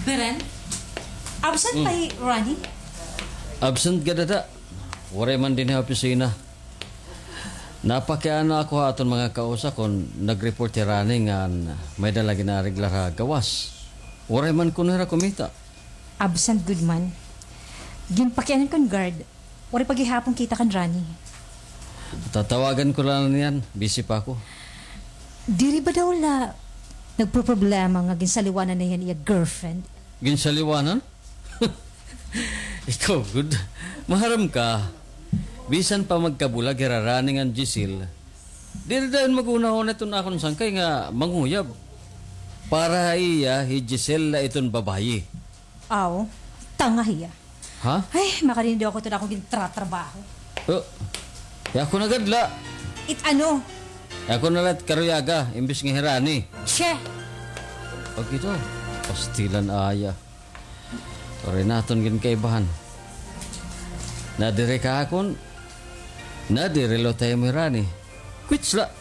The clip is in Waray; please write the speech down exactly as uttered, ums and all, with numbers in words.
Beren, absent pa hi Ronnie? Absent gad ada. Waray man dinhi ha opisina. Napakiana ako ha aton mga kausa kon nag-report hi Ronnie ngan may-ada la gin-aareglar ha gawas. Waray man kuno hira kumita. Absent gud man. Ginpakianan ko hin guard. Waray pa gihapon kita kan Ronnie. Tatawagan ko la niyan. Busy pa ako. Diri ba daw la nagpoproblema nga ginsaliwanan na hiya han iya girlfriend? Ginsaliwanan? Ikaw gud. Maharam ka. Bisan pa magkabulag hira Ronnie ngan Giselle, diri dayon maghunahuna iton akon sangkay nga manguyab. Para ha iya, hi Giselle la iton babaye. Aw, tanga hiya. Ha? Ay, makadinhi daw ako hito ha akon gintratrabaho. Oh, ako na gad la. It ano? Ako na la it karuyaga, imbis nga hi Ronnie. Che! Pag ito, pastilan aya. Waray naton ginkaibahan. Nadiri ka ha akon, nadiri la ha imo hi Ronnie. Quits la.